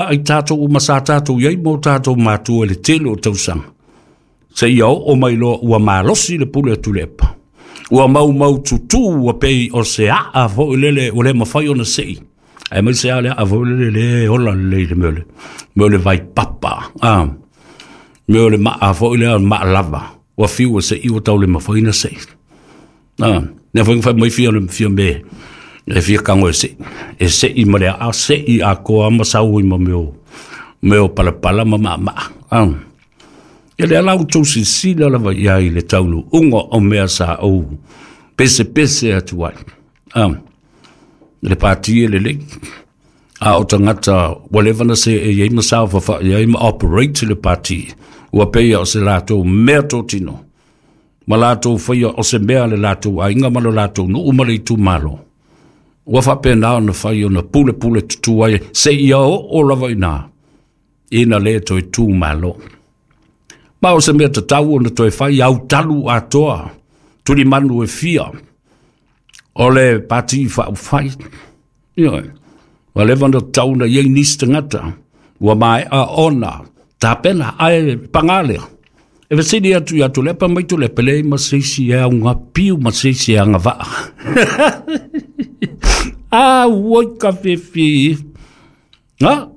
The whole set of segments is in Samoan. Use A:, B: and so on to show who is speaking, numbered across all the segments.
A: Ai tatou uma sa tatou i ai ma o tatou matua i le tele o tausaga, seia oo mai loa ua malosi le pule a Tuilaepa, ua maumaututu, ua pei o se aa foi lele ua le mafai ona sei, aemaise lava le aa foi lele le ola lelei i le mea o le vaipapa, mea o le maa foi lea, maa lava, ua fiu e sei ua tau le mafai ona sei. Lea foi na fai mai fia fia me e fia tago e sei, e sei ma le aa, sei atoa ma sau ai ma mea o palapala ma maamaa. Ia lea la ua outou silasila lava i ai i le taunuuga o mea sa ou pesepese atu ai. Le pati e lelei, a o tagata ua leva ona seei ai ma saofafai ai ma operate le pati, ua pei o se latou meatotino ma latou faia o se mea le latou aiga ma le latou nuu ma le itumalo, ua faapena ona fai ona pulepule tutu ai seia oo lava i ina ina le toe tu malo. Ma o se mea tatau ona toe fai autalu atoa tulimanu e fia o le Pati Faaupufai. Ioe, ua leva ona tatau ona i ai nisi tagata ua maea ona tapena, ae paga lea, e fesili atu ia Tuilaepa mai Tuilaepa, leai ma se isi e augapiu ma se isi e agavaa. Auoi ka fifi. Ha?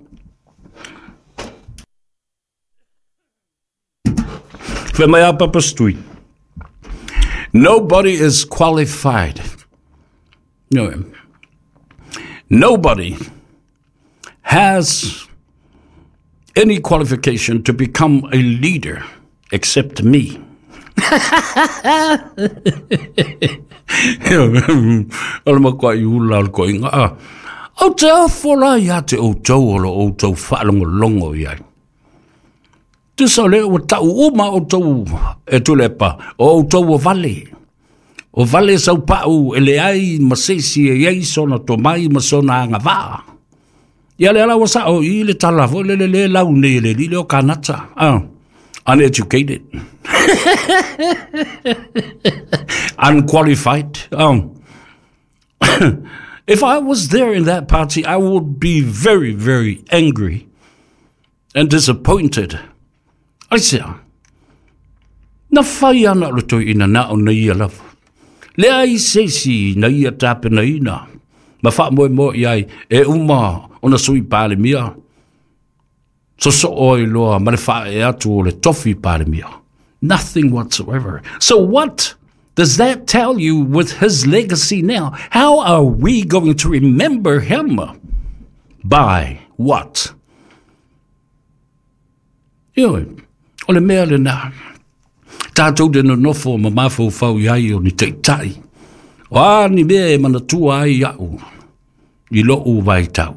A: Fai mai a Papa Stui. Nobody is qualified. No. Nobody has any qualification to become a leader except me. O le makuai ula o le koiga. Ah. Ou te ofo la ia te outou o lo outou faalogologo i ai. Tusa o lea ua tau uma outou e Tuilaepa, o outou ua vale. O vale saupau e leai ma se isi e i ai sona tomai ma sona agavaa. Ia lea la ua sao i le tala foi lele le lau nei e le alii lea o Kanata. Ah, uneducated. Unqualified. Oh. If I was there in that party, I would be very, very angry and disappointed. Aisea? Na fai ana o le toeaina na o na ia lava. Leai se isi na ia tapenaina ma faamoemoe i ai e uma ona sui Palemia, sosoo ai loa ma le faaee atu o le tofi Palemia. Nothing whatsoever. So what does that tell you with his legacy now? How are we going to remember him? By what? Ioe, o le mea lena. Tātou te nonofo ma mafaufau i ai o ni taitai. O a ni mea e manatua ai au i lo'u vaitau.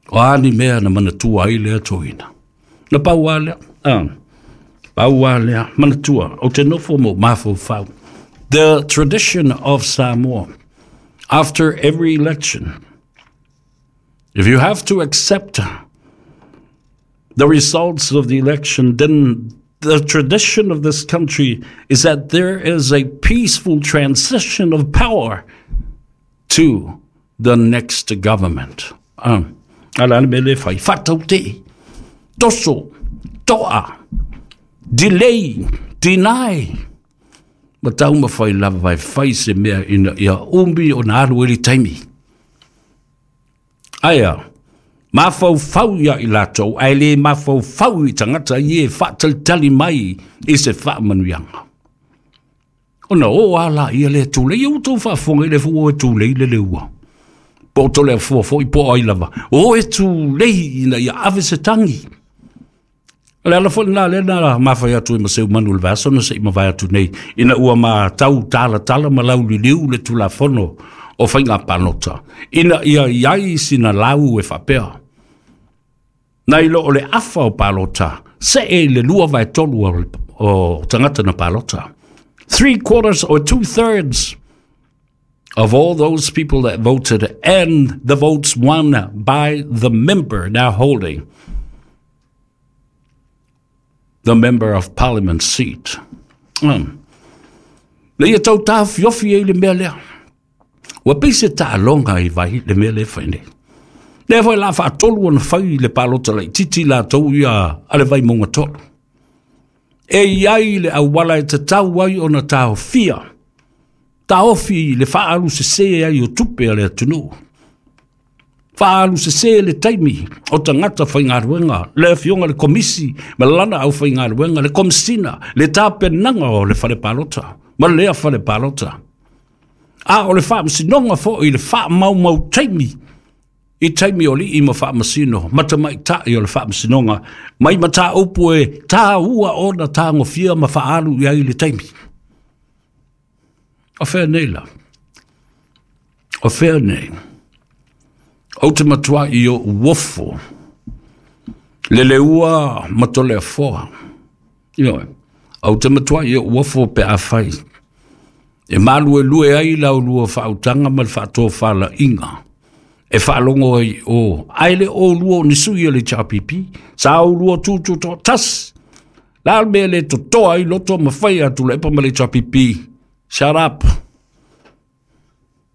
A: O a ni mea na manatua ai lea toeaina. Na pau a lea. Ah, pau a lea. Manatua, o te nofo mo mafaufau. The tradition of Samoa, after every election, if you have to accept the results of the election, then the tradition of this country is that there is a peaceful transition of power to the next government. Ala le mea le fai. Whataute, toso, toa, delay, deny. Ma taumafai lava e fai se mea ina ia umi ona alu ai le taimi. Aia, mafaufau ia i latou, ae le mafaufau i tagata ia e faatalitali mai i se faamanuiaga. Ona o a laia lea tulei, ia ua outou faafofoga i le fua e tulei le leua. Po o Toleafua foi po o ai lava, o e tulei ina ia ave se tagi. O le ala foi lena lea na mafai atu ai ma Seumanu i le vaiaso na se i mavae atu nei, ina ua matau talatala ma lauliliu le Tulafono o Faiga Palota, ina ia i ai sina lau e faapea, nai lo o le afa o palota, see i le 2/3 o tagata na palota. 3/4 or 2/3 of all those people that voted and the votes won by the member now holding the member of parliament seat. Le ia tau tāfiofi ai le mea lea. Ua pei se taaloga i vai le mea lea e fai nei. Lea foi la faatolu ona fai le palota laitiiti latou ia a le Vaimauga 3. E i ai le auala e tatau ai ona taofia, taofi le faaalu sese ai o tupe a le atunuu, faaalu sese le taimi o tagata faigaluega, le afioga i le Komisi ma lana aufaigaluega, le Komesina, le tapenaga o le fale palota ma lea fale palota. A o le faamasinoga foi i le faamaumau taimi i taimi o alii ma faamasino ma tamaitai o le faamasinoga mai mataupu e taua ona tagofia ma faaalu i ai le taimi. O fea nei la? O fea nei? Ou te matuai ou ofo le leua ma Toleafoa. Ioe, ou te matuai ou ofo pe afai e maluelue ai la ulua faautaga ma le faatofalaiga e faalogo ai o, ae le o lua o ni sui o le HRPP, sa ulua tutu toatasi. La le mea le totoa ai loto ma fai atu le epa ma le HRPP, shut up.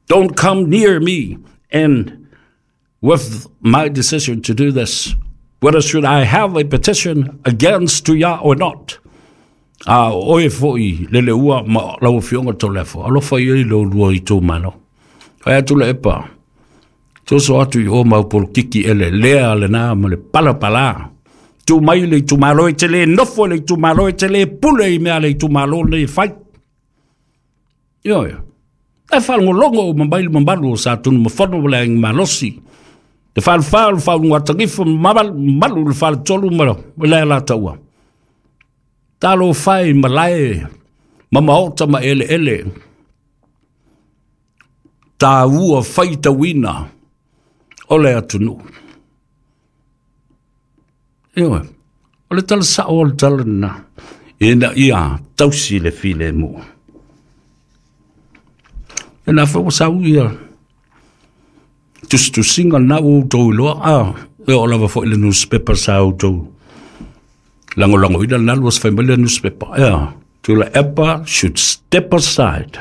A: Don't come near me and with my decision to do this. Whether should I have a petition against Tuia or not? A oe foi le leua ma lau afioga Toleafoa, alofa ia i lo lua i tō malo. Fai atu le epa, soso atu i o mau polokiki ele lea le nā ma le palapala. Tu mai le itumalo e te le nofo le itumalo e te le pule i mea le itumalo nei e fai. Ioe. E faalogologo uma mai le mamalu o Sa Tunumafono ma le Aiga Malosi. Le falefa o le faulugatagifo mamalu le faletolu ma le Alataua. Talofa e i malae ma maota ma eleele. Taua faitauina o le atunuu. Ioe, o le tala sao o le tala lena, ina ia tausi le filemu. E na foi ua sau ia tusitusiga lena ua outou iloa, a e oo lava foi i le newspaper sa outou lagolagoina lena lua fai mai le newspaper. Ea, Tuilaepa should step aside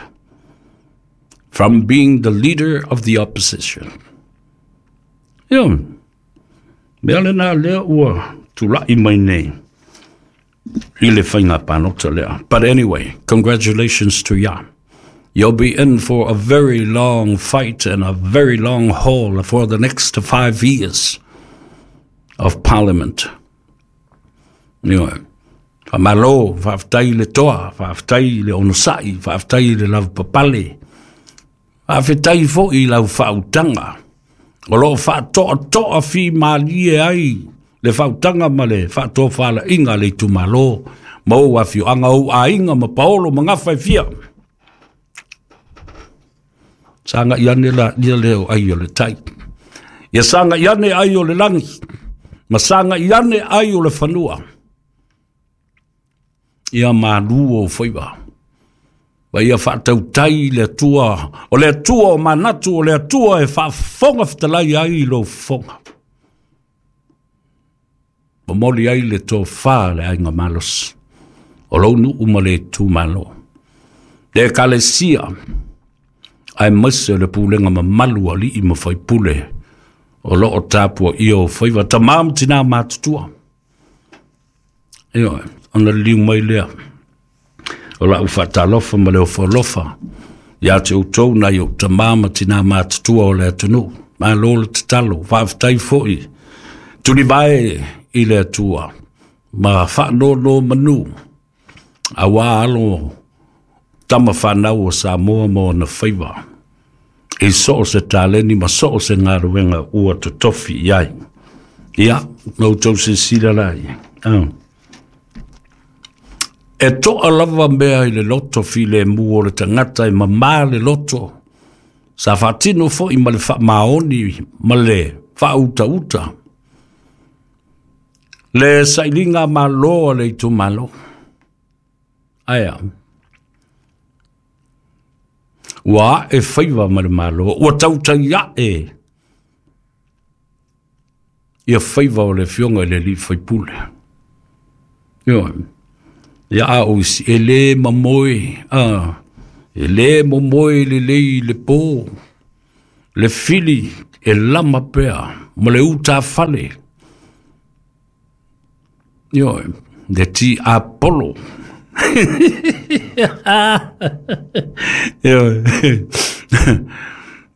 A: from being the leader of the opposition. Ioe, mea lena lea ua tulai mai nei i le faiga palota lea. But anyway, congratulations to ya. You'll be in for a very long fight and a very long haul for the next 5 years of parliament. Ioe, faamalo, faafetai i le toa, faafetai i le onosai, faafetai i le lavapapale, faafetai foi i lau faautaga o lo o faatoatoa fimalie ai le faautaga ma le faatofalaiga a le itumalo ma ou afioaga, ou aiga ma paolo ma gafa e fia. Sagai ane la ia lea o ai o le tai. Ia sagai ane ai o le lagi, ma sagai ane ai o le fanua. Ia malu ou faiva. Ma ia faatautai le Atua, o le Atua o manatu, o le Atua e faafofoga fetalai ai i lou fofoga. Momoli ai le tofa le aiga malosi o lou nuu ma le itumalo, le ekalesia, aemaise o le pulega mamalu a alii ma faipule o lo o tapuaia o faiva tamā ma tinā matutua. Ioe, ona liliu mai lea o lau faatalofa ma le ofo alofa ia te outou nai ou tamā ma tinā matutua o le atunuu. Malo le tatalo, faafetai foi tulivae i le Atua ma faanono manu aua alo tama fanau o Samoa ma ona faiva i so o se taleni ma so o se galuega ua totofi i ai. Ia, na outou silasila la ia. E toa lava mea i le loto filemu o le tagata e mamā le loto, sa faatino foi ma le faamaoni ma le faautauta le sailiga malo a le itumalo. Ae a? Ua ae faiva ma le Malo, ua tautai ae ia faiva o le afioga i le alii faipule. Ioe, ia a o isi, e le mamoe, a, e le momoe lelei i le po, le fili e lama pea ma le utafale. Ioe, le tiapolo. Ioe,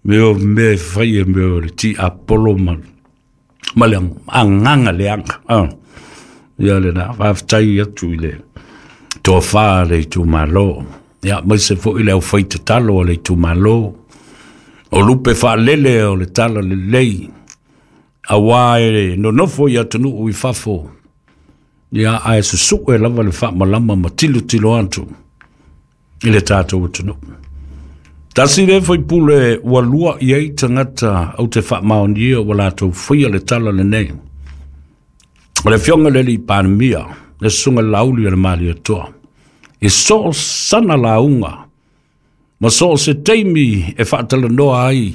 A: mea o mea e fai e mea o le tiapolo ma ma le agaga leaga. Ia lena, faafetai atu i le tofa a le itumalo, ia aemaise foi le aufaitatalo a le itumalo, o lupe faalele o le talalelei, aua e nonofo i atunuu i fafo, ia ae susue lava le faamalama ma tilotilo atu i le tatou atunuu. Tasi lea faipule ua lua i ai tagata ou te faamaonia ua latou faia le tala lenei. O le afioga i le alii Palemia, le susuga i le Laauli o le Malietoa, i so o sana lauga ma so o se taimi e faatalanoa ai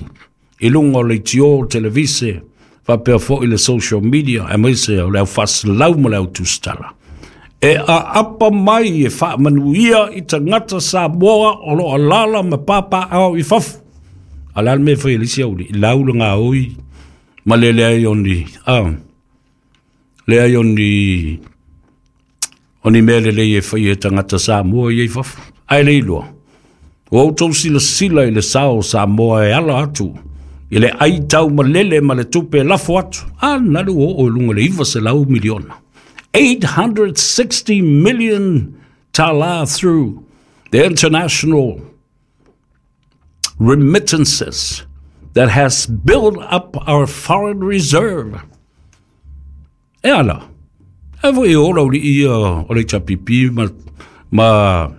A: i luga o leitio, televise, faapea foi le social media, aemaise o le au faaselau ma le au tusitala, e aapa mai e faamanuia i tagata Samoa o lo o alaala ma papaaao i fafo. A o le a le mea e fai e le isi auli? Lau le gaoi ma le leai o ni, leai o ni o ni mea lelei e fai e tagata Samoa ia i fafo. Ae le iloa, ua outou silasila i le sao o Samoa e ala atu i le ai taumalele ma le tupe e lafo atu. A na le ua oo i luga i le 900 miliona. 860 million tala through the international remittances that has built up our foreign reserve. E ala, e foi e ola uli ia o le HRPP ma, ma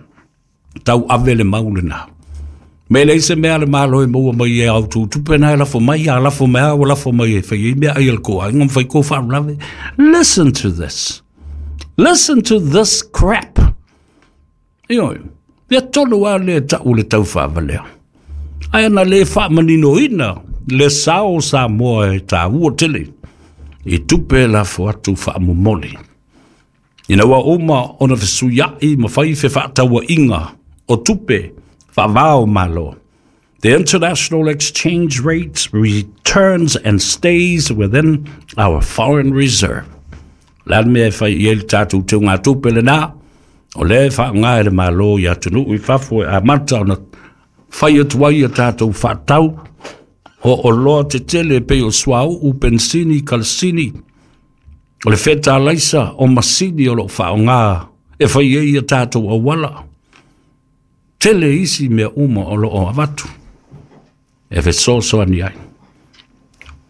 A: tau ave le mau lena. Me leai se mea a le Malo e maua mai e au tou tupe na e lafo mai, a lafo mai a ua lafo mai e fai ai mea ai a le kou aiga ma fai kou faalavelave. Listen to this. Listen to this crap. Ioe, mea tonu lava lea e tau o le taufaavalea. Ae ana le faamaninoina le sao o Samoa e taua tele i tupe e lafo atu faamomoli. Ina ua uma ona fesuiai ma fai fefaatauaiga o tupe faava o Malo, the international exchange rate returns and stays within our foreign reserve. O le a le mea e fai i ai le tatou teugatupe lena? O lea e faaaoga e le Malo i atunuu i fafo e amata ona fai atu ai a tatou faatau o oloa tetele e pei o suauu, penisini, kalasini, o le fetalaisa o masini o lo o faaaoga e fai ai a tatou auala. Tele isi mea uma o lo o avatu e fesoasoani ai.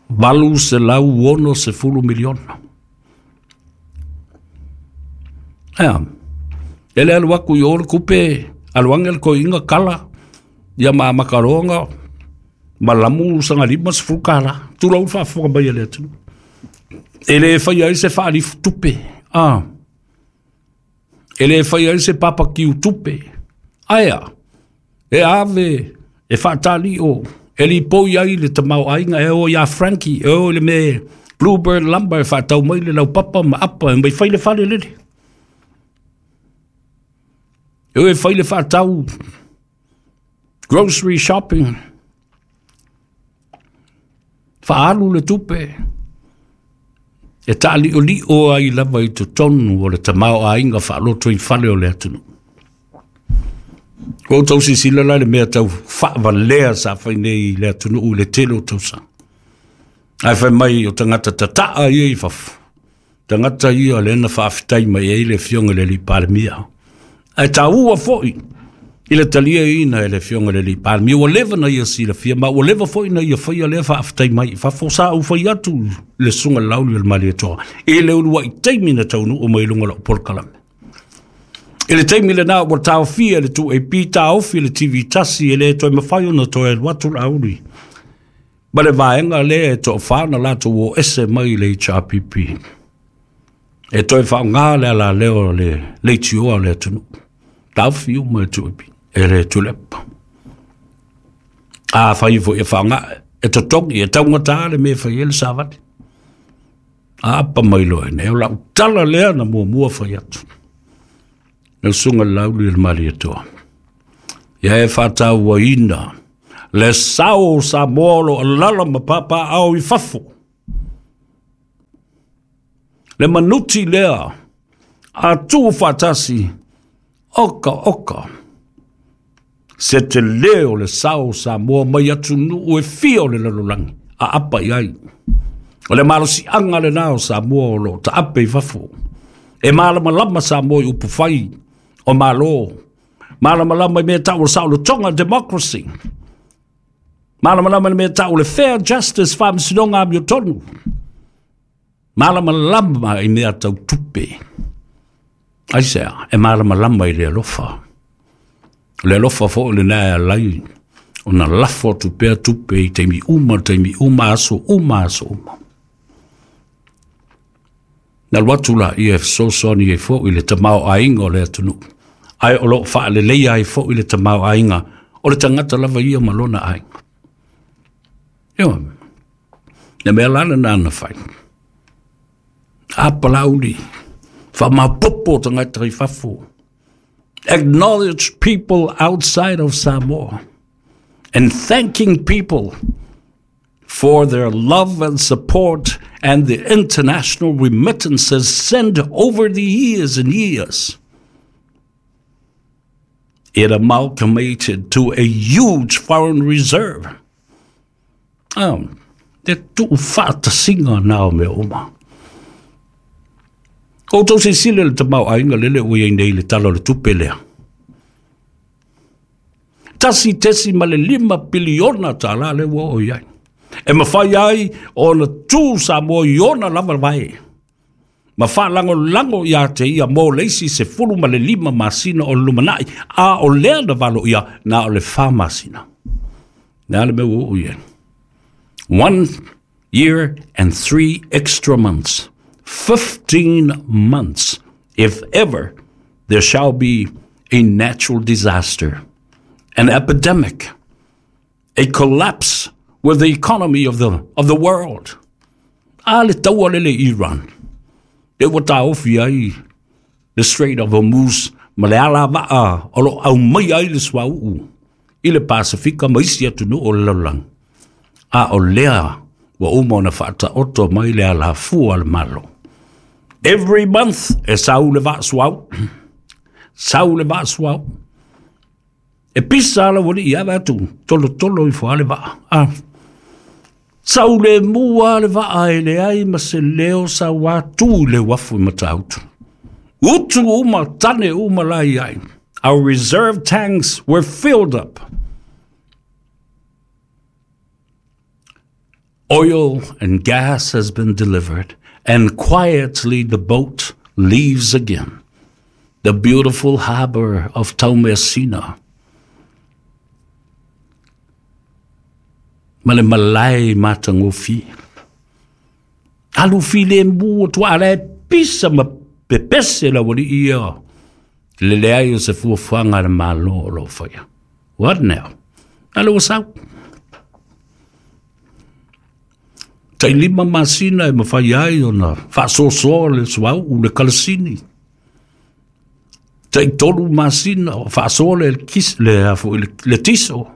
A: 860 miliona. Ea, e le alu atu i o le tupe, alu ane le toeaina kala, ia ma makaroga, ma lamu sagalima $10. Tulou le faafofoga mai a le atunuu. E le faia ai se faalifutupe. Ah. E le faia ai se papakiu tupe. Ae a? E ave, e faataliʻo, e lipoi ai le tamaoaiga, e o iā Frankie, e o i le mea Bluebird Lumber e faatau mai le laupapa ma apa e mai fai le fale lele. E o e fai le faatau grocery shopping, faaalu le tupe, e taaliolio ai lava i totonu o le tamaoaiga faalotoifale o le atunuu. Ua outou silasila la i le mea tau faavalea sa fai nei i le atunuu i le tele o tausaga. Ae fai mai o tagata tataa ia i fafo, tagata ia lea na faafetai mai ai le afioga i le alii Palemia. Ae taua foi i le taliaina e le afioga i le alii Palemia, ua leva na ia silafia ma ua leva foi na ia faia lea faafetai mai i fafo. Sa ou fai atu i le susuga i le Laauli o le Malietoa i le uluai taimi na taunuu mai i luga o lau polokalame. I le taimi lena ua taofia e le 2AP, taofi e le TV1, e le toe mafai ona toe alu atu Laauli ma le vaega lea e toafa na latou o ese mai i le HRPP e toe faaaoga le alaleo o le leitioa o le atunuu. Taofi uma e 2AP, e le Tuilaepa. Afai foi e faaaoga, e totogi, e taugata le mea e fai ai le savali. Apa mai loa i nei, o lau tala lea na muamua fai atu. Lau susuga i le Laauli o le Malietoa, ia e faatauaina le sao o Samoa o lo o alaala ma papaaao i fafo. Le manuti lea a tuufaatasi, oka oka. Se telē o le sao o Samoa mai atunuu e fia o le lalolagi aapa i ai. O le malosiaga lenā o Samoa o loo taape i fafo. E malamalama Samoa i upufai o Malo, malamalama i mea tau o le saolotoga, democracy, malamalama i le mea tau o le fair justice, faamasinoga amiotonu, malamalama i mea tau tupe. Aisea? E malamalama i le alofa. O le alofa foi lenā e alai ona lafo atu pea tupe i taimi uma, taimi uma, aso uma, aso uma. Na alu atu laia e fesoasoani ai foi i le tamaoaiga o le atunuu, ae o loo faaleleia ai foi le tamaoaiga o le tagata lava ia ma lona aiga. Ioe, le mea la lena na fai. A palauli, faamaopoopo tagata i fafo. Acknowledge people outside of Samoa and thanking people for their love and support and the international remittances sent over the years and years. It amalgamated to a huge foreign reserve. Le tuufaatasiga na o mea uma. Outou silasila i le tamaoaiga lele ua i ai nei i le Tala o le Tupe lea. 1.5 piliona tālā lea ua oo i ai. E mafai ai ona tu Samoa i ona lava vae ma faalagolago ia te ia mo le isi 15 masina o le lumanai, a o lea na valo ia na o le 4 masina. Le a le mea ua oo i ai? 1 year and 3 extra months. 15 months, if ever there shall be a natural disaster, an epidemic, a collapse with the economy of the, of the world. A le taua lele i Iran, le ua taofi ai le Strait of Hormuz ma le alavaa o lo aumaia ai le suauu i le Pasifika ma isi atunuu o le lalolagi. A o lea ua uma ona faataoto mai le alafua a le Malo. Every month e sau le vaa suau, sau le vaa suau. E pisa ala ua lii ave atu, tolotolo ifo lava le vaa. Ah. Sau le mua le vaa e leai ma se leo sau atu i le uafu i Matautu. Utu uma, tane uma la i ai. Our reserve tanks were filled up. Oil and gas has been delivered, and quietly the boat leaves again. The beautiful harbor of Taumeasina. Ma le malae matagofie. Alu filemu atu a la e pisa ma pepese le aualii ia le leai o se fuafuaga a le Malo o lo o faia. What now? A lea ua sau. Tai 5 masina e mafai ai ona faasoasoa le suauu, le kalasini. Tai 3 masina o faasoa le, le, le, le tiso.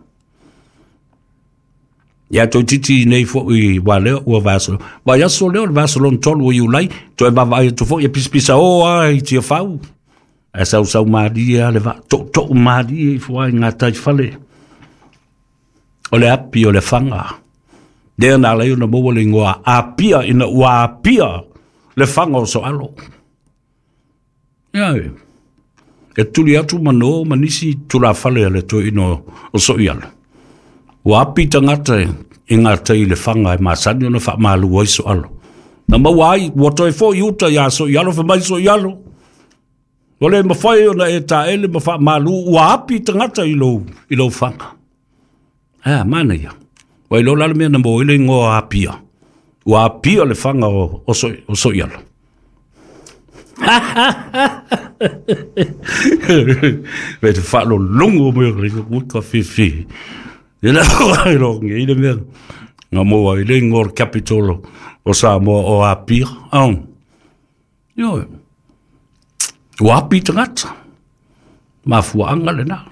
A: Ia toeitiiti nei foi ua lea ua vaiaso. Vaiaso lea o le vaiaso lona tolu o Iulai, toe vaavaai atu foi e pisapisa o lava i Tiafau. Ae sausau malie lava le vaa, tootoo malie ifo lava i gataifale. O le api o le faga. Lea na ala ai ona maua le igoa Apia ina ua apia le faga o Soalo. Ia e, e tuli atu ma no ma nisi tulafale a le toeaina o Soialo. Ua api tagata i gatai i le faga e masani ona faamalu ai Soalo. Na maua ai, ua toe foi i uta ia Soialo, fai mai Soialo, ua le mafai ona e taele ma faamalu, ua api tagata i lou, i lou faga. A, manaia. Ua iloa la le mea na maua ai le igoa Apia. Ua apia le faga o, o, so, o Soialo. Me te whaalolongo mai o le uika whiwhi. E la ai lo ngi le mea. Nga maua ai le ingoa o le capital o Samoa o Apia. Oh. Ioe. Ua api tagata. Mafuaanga lena.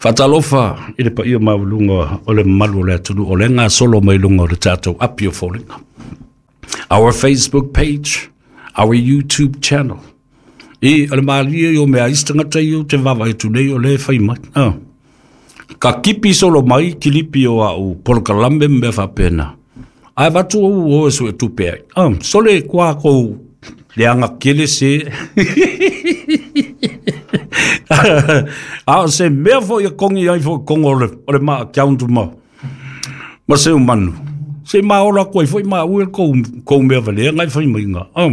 A: Faatalofa i le paia maualuga o le mamalu o le atunuu o lea e gasolo mai luga o le tatou api o foliga. Our Facebook page, our YouTube channel. I, o le malie i o mea isi tagata ia ou te vaavaai atu nei o lea e fai mai. Ah. Ka kipi solo mai kilipi o au polokalame ma mea faapena. Ae avatu ou o e suetupe ai. Ah, sole kua kou leaga kele se. A o se mea foi e kongi ai foi kongo o le, o le ma account ma, ma seu manu. Se ma ola atu ai foi ma ue kou, kou mea valea ngai fai mai nga. Ah.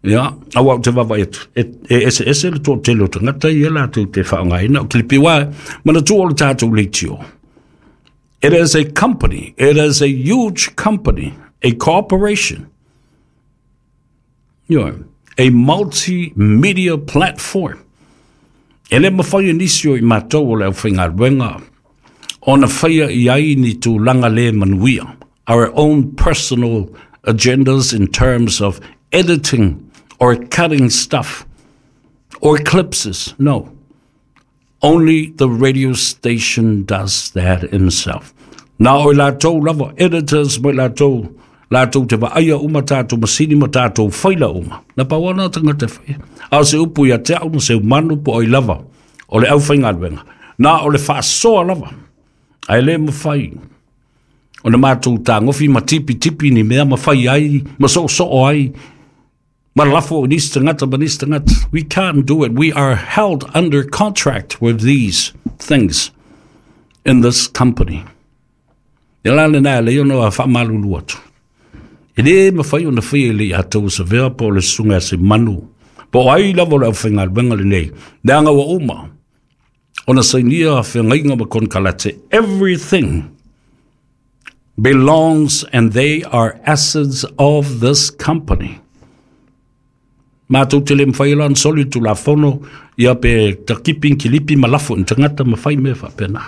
A: Ia, aua ou te vaavaai atu, e, e eseese le toatele o tagata ia latou te faaaogaina. O kilipi wa, manatua o le tatou leitio. It is a company, it is a huge company, a corporation. You know, a multimedia platform. E le mawhai e nisi o i mātou o le aufaigaluega ona faia i ai ni tulaga le manuia. Our own personal agendas in terms of editing or cutting stuff or eclipses. No. Only the radio station does that himself. Na o i latou lava, editors mo i latou, latou te vaaia uma tātou masini ma tātou faila uma. Na pau ana tagata e whaia. A o se upu ia te au ma se umanu po oi lava, o le aufaigaluega. Na o le faasoa lava, ae le mawhai ona mātou tāgofi ma tipitipi ni mea ma whai ai, ma soosoo ai, ma lafo i nisi tagata ma nisi tagata. We can't do it. We are held under contract with these things in this company. Ia la lena e lei ona faamalulu atu. E lē mafai ona faia e le ia tou savea po o le susuga ia Semanu, po o ai lava o le aufaigaluega lenei, leaga ua uma ona sainia feagaiga ma konekarate. Everything belongs and they are assets of this company. Matou te le mafai la ona soli le Tulafono, ia pe takipi kilipi ma lafo i tagata ma fai mea faapena.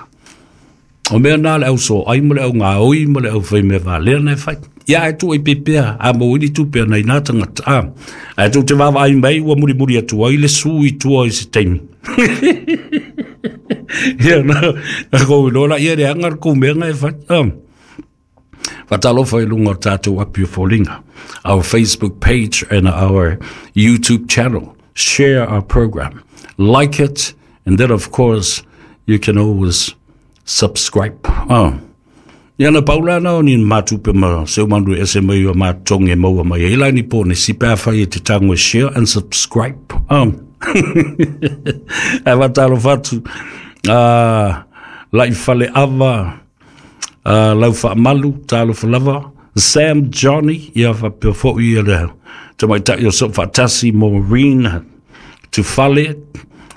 A: O mea na le au soai ma le au gaoi ma le au fai mea valea na e fai. Ia ae tuu ai pea a maua ai ni tupe a nai nā tagata. A, ae tou te vaavaai mai ua mulimuli atu ai le su i tua i se taimi. Ia na, na kou iloa la ia leaga le kou mea na e fai. A. Faatalofa i luga o tatou api o foliga, our Facebook page and our YouTube channel. Share our program, like it, and then of course you can always subscribe. Oh. Ia na pau la na o ni matupe ma se umandu e ese mai o matotogi e maua mai ai la ni ponesi pe afai e te tago e share and subscribe. Oh. Ae faatalofa atu la'i faleava lau faamalu talofa lava Sam Johnny ia faapea foi ia le tamaitai o Soofaatasi Maureen Tufale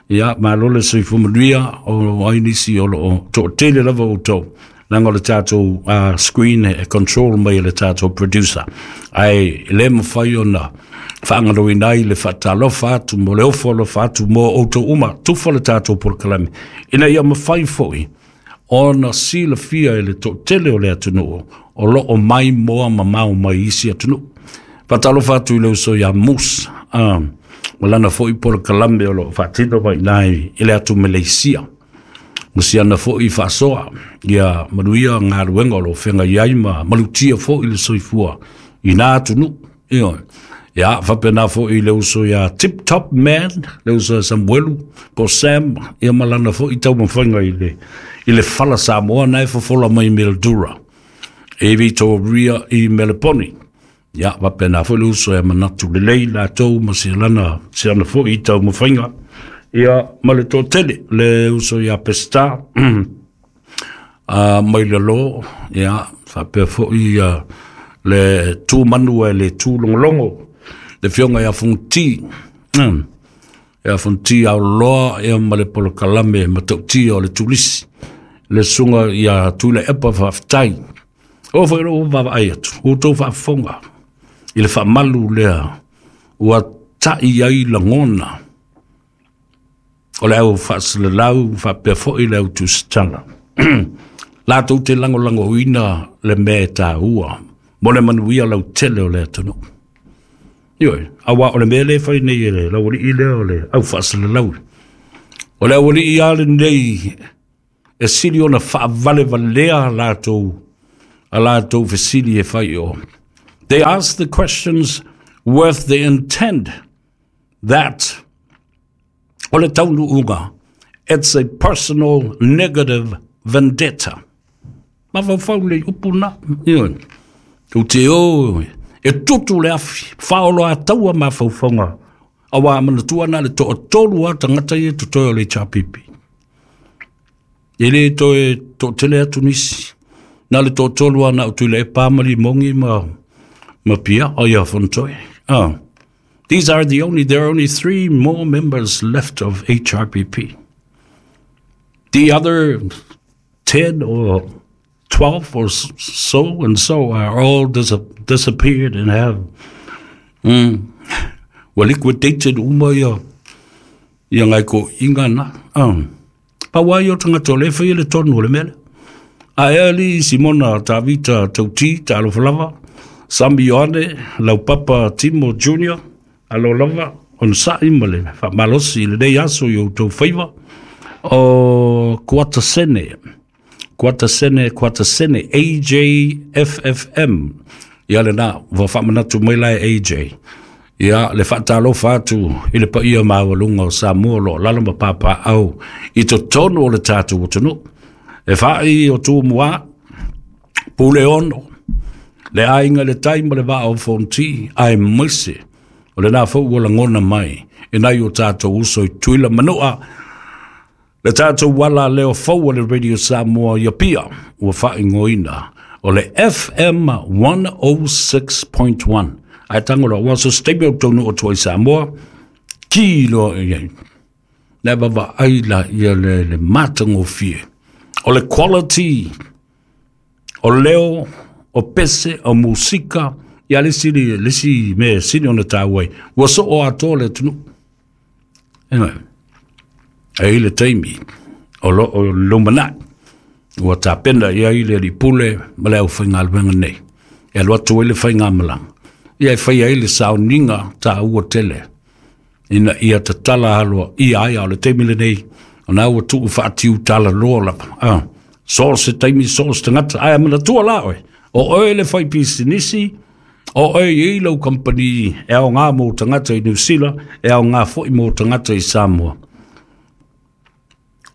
A: ia malo le soifua manuia o ai nisi o loo toatele lava outou leaga o le tatou screen e control mai e le tatou producer ae le mafai ona faagaloina ai le faatalofa atu mo le ofo alofa atu mo outou uma tufa le tatou polokalame ina ia mafai foi ona silafia e le toatele o le atunuu o lo o maimoa mamao mai isi atunuu. Faatalofa atu i le uso ia Moose, ma lana foi polokalame o lo o faatino mai i i le atu Meleisia. Ma siana foi faasoa, ia manuia galuega o lo o feagai ai ma malutia foi le soifua i nā atunuu. Ioe. Ia, faapena foi i le uso ia Tip Top Man, le uso ia Samuelu, po Sam, ia ma lana foi taumafaiga i le, i le fala Samoa na e fofola mai Mildura, e Victoria i Meleponi. Ia, faapena foi le uso ia Manatu Lelei latou ma si lana, si ana foi taumafaiga. Ia, ma le toatele, le uso ia Peseta, mai lalo, ia, faapea foi ia, le tu manu e le tu logologo, le afioga ia Fonoti, ia Fonoti Aoloa, ia ma le polokalame matautia o le turisi, le susuga ia Tuilaepa faafetai. O foi lou vaavaai atu, ua outou faafofoga i le faamalu lea ua ta'i ai lagona o le au faasalalau faapea foi le au tusitala. Latou te lagolagoina le mea e taua mo le manuia lautele o le atunuu. Ioe, aua o le mea lea e fai nei e le laualii lea o le au faasalalau. O le aualii lava lenei e sili ona faavalevalea latou a latou fesili e fai i o. They ask the questions with the intent that o le taunuuga, it's a personal negative vendetta. Mafaufau le upu na. Ioe. Tou te o e tutu le afi, faaoloataua mafaufauga, auā manatua na le toatolu lava tagata ia e totoe o le HRPP. E le toe toatele atu nisi. Na le toatolu lava na o Tuilaepa ma Limogi ma Pia, o ia Fonotoe. Oh. These are the only, there are only 3 more members left of HRPP. The other 10 or 12 or so and so are all disappeared and have ua liquidated uma ia ia ngai ko inga na. Pau ai o tagata o le whai le tonu o le mele. A e ali Simona Tavita Tauti, talofa lava, Sami Ioane, Laupapa Timo Junior, alo lava, on sa'i ma le whaamalosi i lenei aso i o outou faiva, o Kuatasene, Kuatasene, Kuatasene, AJFFM, ia lena, ua faamanatu mai la e AJ. Ia, le faatalofa atu i le paia maualuga o Samoa o lo o lalo ma papaau i totonu o le tatou atunuu. E fa'i o Tumua, Puleono, le aiga i le tai ma le vaa o Fonoti, aemaise o lena foi ua lagona mai e nai o tatou uso i Tutuila Manua, le tatou ala leo fou o le Radio Samoa i Apia, ua faaigoaina o le FM 106.1. Ae tago loa, ua so se taimi ou taunuu atu ai i Samoa, ki loa i ai. Le vaavaai la ia le matagofie o le quality o leo, o pese, o musika, ia le isi, le isi mea sili ona taua ai, ua soo atoa le atunuu. Anyway, e i le taimi o lo o lumanai, ua tapena i ai le alii pule ma le aufaigaluega nei, e alu atu ai le faigamalaga, ia e fai ai le sauniga taua tele, ina ia tatala aloaia ai, a o le taimi lenei, ona ua tuu faatiu talaloa lava. So o se taimi, so o se tagata, ae manatua la oe, o oe le fai pisinisi, o oe e i ai lau kamupani e aoga mo tagata i Niu Sila, e aoga foi mo tagata i Samoa.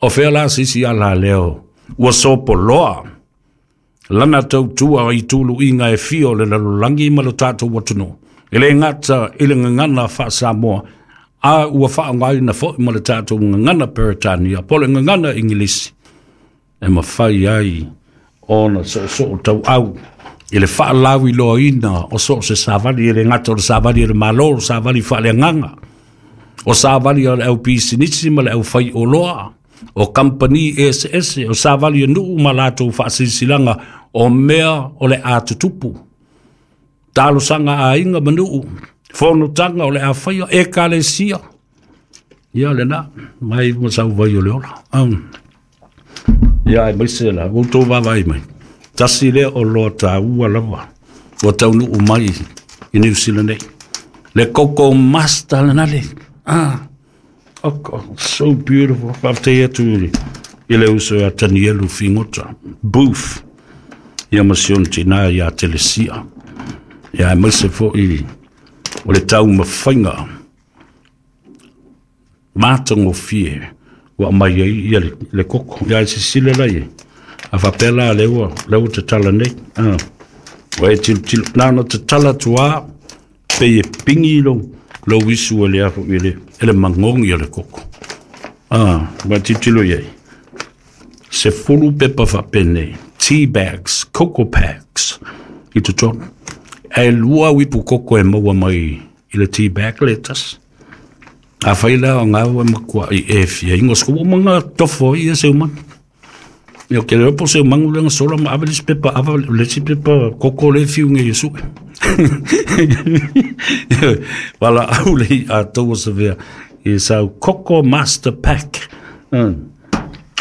A: O fea la se isi ala leo ua sopoloa lana tautua i tuluiga e fia o le lalolagi ma lo tatou atunuu, e le gata i le gagana faa-Samoa, a ua faaaogaina foi ma le tatou gagana Peretania po o le gagana Igilisi, e mafai ai ona soosoo tauau i le faalauiloaina o so o se savali, e le gata o le savali a le Malo, o savali faaleagaga, o savali a le au pisinisi ma le au faioloa, o kamupani eseese, o savali a nuu ma latou faasilasilaga o mea o le a tutupu, talosaga a aiga ma nuu, fonotaga o le a faia, ekalesia. Ia lena, mai ma sau vai o le ola. Ia aemaise la ua outou vaavaai mai, tasi lea o loa taua lava ua taunuu mai i Niu Sila nei, le Coco Master lena le. Oh, so beautiful. Faafetai atu i le uso ia Tanielu Figota Booth, ia ma si ona tinā ia Telesia, ia aemaise foi o le taumafaiga matagofie ua aumai ai ia le koko. Ia e silasila la i ai, a faapea la lea ua tatala nei, ua e tilotilo, na ona tatala atu lava, pei e pingi lou isu e le afu i le magogi o le koko. Ua e tilotilo i ai, 10 pepa faapenei, tea bags, coco packs i totonu. Ae 2 uipu koko e maua mai i le tea bag le tasi. A fai la o ngā ua matua i e fia ingo sku manga tofo i e se umanu. Ia ke leo po se umangu lenga sola ma ave le si pepa, ave le si pepa koko le fiu nge Yesu. Wala au le i a taua sa vea i sau Coco Master Pack.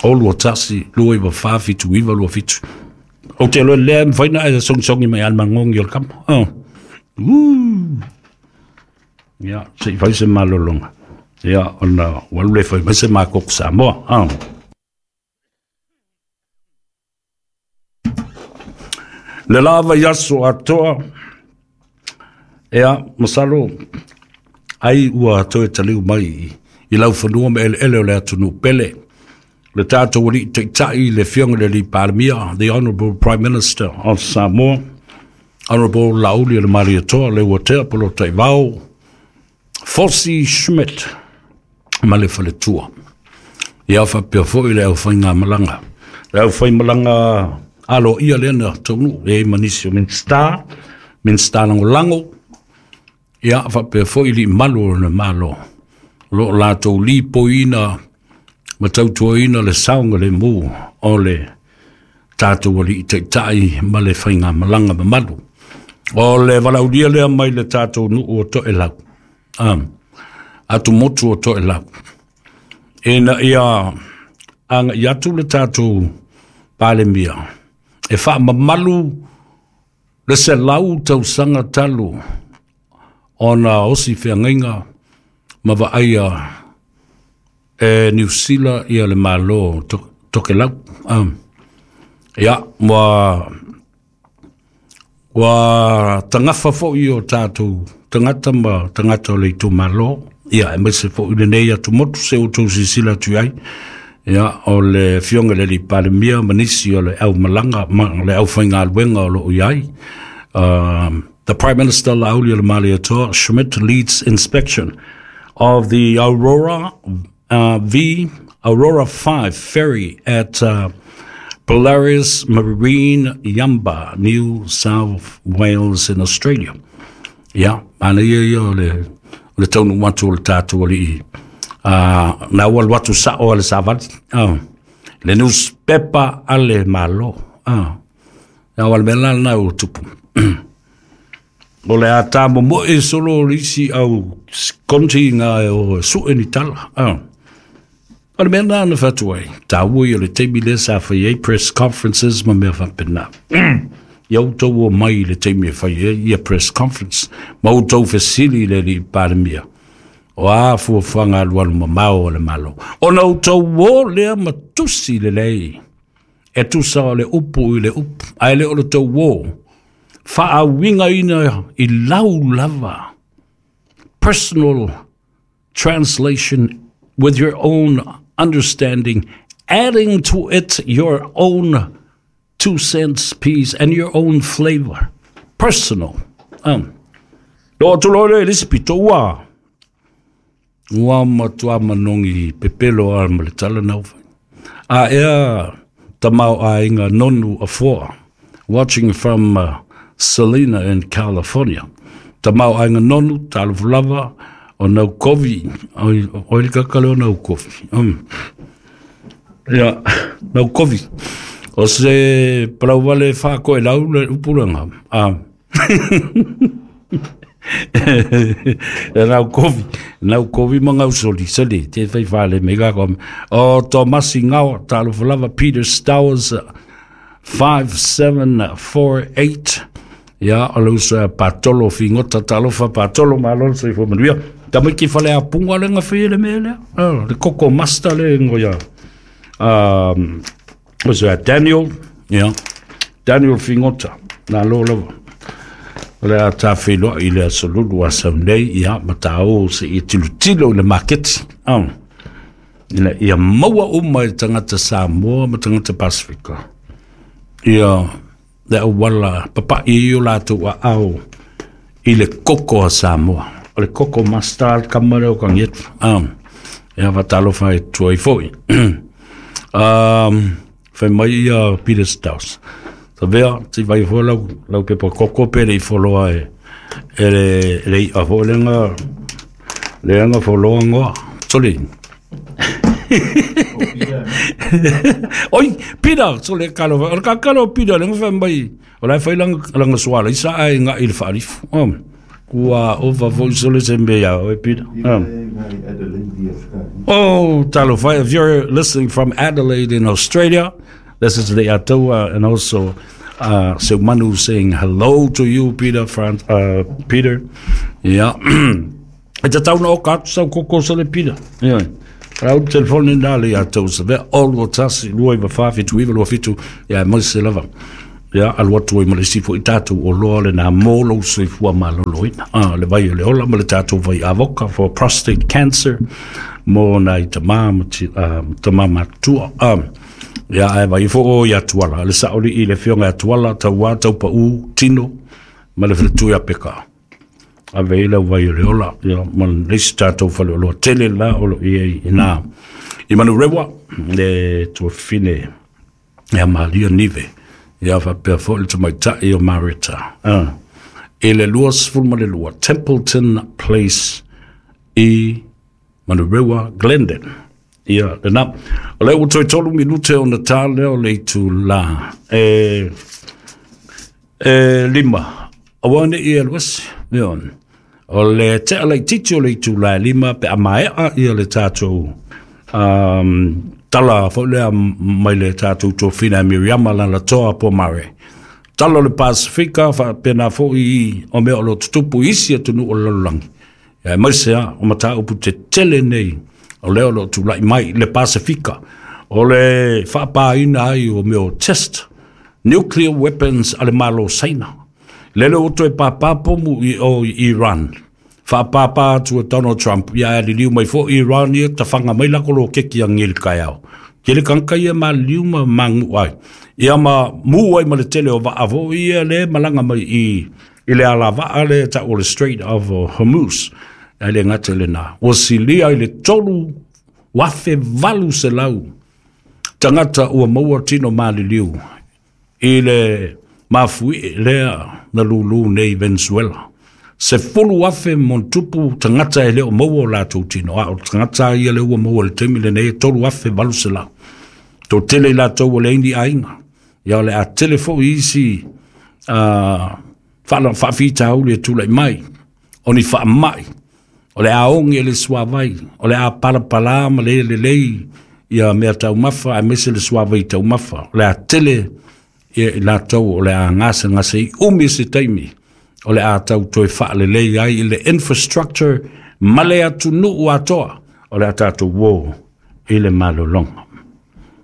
A: O 2 1 2 9 4 7 9 2 7. O te loa lea mawhai na e songisongi mai al mangongi o le kama. Ia, se i fai se malolonga. Ia, ona ua alu le fai mai se makoko Samoa. Le lava i aso atoa. Ia, masalo ai ua toe taliu mai i laufanua ma eleele o le atunuu pele. Le tatou alii taitai le afioga i le alii Palemia, the Honourable Prime Minister of Samoa, Honourable Laauli Malietoa Leuatea Polataivao Fosi Schmidt ma le faletua. Ia faapea foi le aufaigamalaga, le aufaimalaga aloaia lea na taunuu e i ai ma nisi o Minisita, Minisita Lagolago, ia faapea foi alii mamalu o le Malo o lo o latou lipoiina ma tautuaina le saogalemu o le tatou alii taitai ma le faigamalaga mamalu. O le valaaulia lea mai le tatou nuu o Toelau, atumotu o Toelau, ina ia agai atu le tatou Palemia e faamamalu le 100 tausaga talu ona osi feagaiga ma vaaia e Niu Sila ia le Malo Tokelau. Ia, ua tagafa foi o tatou tagata ma tagata o le itumalo, ia aemaise foi lenei atumotu se outou silasila atu i ai. Ia, o le afioga i le alii Palemia ma nisi o le aumalaga ma le aufaigaluega o lo o i ai. The Prime Minister Laauli Malietoa Schmidt leads inspection of the Aurora V Aurora 5 ferry at Polaris Marine Yumbah, New South Wales in Australia. Ia, ana ia ia o le taunuu atu o le tatou alii na ua alu atu sao a le savali. Le newspaper a le Malo. Ia o le mea la lena ua tupu. O le a tā momoe solo o le isi au konti ngā o sue ni tala. O le mea lena na fatu ai. Tāua ia o le taimi lea sa fai ai press conferences ma mea faapena. Ia outou o mai i le taimi e fai ai ia press conference ma outou fesili i le alii Palemia. O a fuafuaga alualu mamao o le Malo. Ona outou o lea ma tusi lelei. E tusa o le upu i le upu. Ae le o le tou o. Faauigaina i lau lava. Personal translation with your own understanding, adding to it your own 2 cents piece and your own flavor. Personal. Lo atu loa lea i le isi pito ua matua manogi pepelo a ma le tala na ufai. A ea tamau aiga nonu afoa, watching from Salina in California. Tamau aiga nonu, talofa lava, o nau kovi, oi le kakale o nau kovi. Ia, nau kovi. O se palauvale whaakoe lau le upuranga. Nau kovi ma ngau soli, soli, te whai whale me kako. O Tomasi Ngao, talofa lava, Peter Stowers, 5748. Ia, o le uso Patolo Figota, talofa Patolo, malo le soifua manuia. Tamaiti fale a punga le ngawhi le mea lea. Le koko master le ngoia. Uso Daniel, ia, Daniel Figota, nā lo lava. O le a tāwhiloa i le aso lulu a sau nei, ia, ma tā o se i tilutilo i le maketi. Ina ia maua uma i tangata Samoa ma tangata Pasifika. Ia, le auala papai i o latou a ao i le koko a Samoa. O le koko master kama leo ka ngetu. Ia fatalofa e tuai foi. Fai mai ia Peter Staus. Sa vea, ti vai fo lau, lau pepa koko pe le i foloa e le i a fo lenga foloa ngoa. Sole. Oi, Peter, sole kalo, o ka kalo Peter lenga fai mai. O lai fai langa suala isa ai nga i le faalifu. Kua ova foi sole se mea ia, oi Peter. Oh, talofa, if you're listening from Adelaide in Australia, this is the Atoa and also Seumanu saying hello to you, Peter. Peter. Yeah. E te tauna o ka atu sau koko sole Peter. Yeah. Rau telefoni nā le Atoa sa vea, olu o tasi, 2 iwa wha, 7 iwa, 2 7, ia, mai se lava. Ia, alu atu ai ma le isi foi tatou oloa lena mo lou soifua maloloina. Le vai o le ola ma le tatou vai avoka for prostate cancer mo nai tama ma tama matutua. Ia, ae vai fo o ia Tuala, le saoli i le fionga Tuala, tauā taupau, tino, ma le faletu ia peka. Ave i lau vai o le ola, ia, ma le isi tatou fale oloa tele la o lo i ai ina. I Manurewa, le tuafine ia Maria Nive, ia faapea foi le tamaitai o Mareta. I le 22 Templeton Place i Manurewa, Glendon. Ia, lena. O lea ua toe 3 minute ona tā lea o le itulā e 5. Aua ne i alu ese. Ia, o le tea laitiiti o le itulā e 5 pe a maea ia le tatou tala foi lea mai le tatou tofina e Miriama Lalatoa Pomare. Tala o le Pasifika faapena foi o mea o lo o tutupu i isi atunuu o le lalolagi. Ia, aemaise lava o mataupu tetele nei o lea o lo o tulai mai le Pasifika, o le faapāina ai o mea o test nuclear weapons a le Malo o Saina. Lele ua toe pāpā pomu i o i Iran. Faapāpā atu e Donald Trump, ia ae liliu mai foi Iran ia tafaga mai lako loketi a ngeli kaeao. Tele tagata ia maliliu ma magu'u ai. Ia ma mu ai ma le tele o vaa foi ia le malaga mai i le alavaa le ta'u o le Strait of Hormuz. Ae le gata i lena, ua silia i le 3,800 tagata ua maua tino maliliu i le mafuie lea na lūlū nei Venezuela. 10,000 mo tupu tagata e le o maua o latou tino, a o tagata ia le ua maua i le taimi lenei e 3,800. Toatele i latou o leai ni aiga. Ia o le a tele foi isi faafitauli e tulai mai, o ni faamai, o le a oge le suavai, o le a palapala ma le lelei ia mea taumafa, aemaise le suavai taumafa. O le a tele ia i latou o le a gasegase i umi se taimi, o le a tau toe faalelei ai i le infrastructure ma le atunuu atoa, o le a tatou uo i le malologa.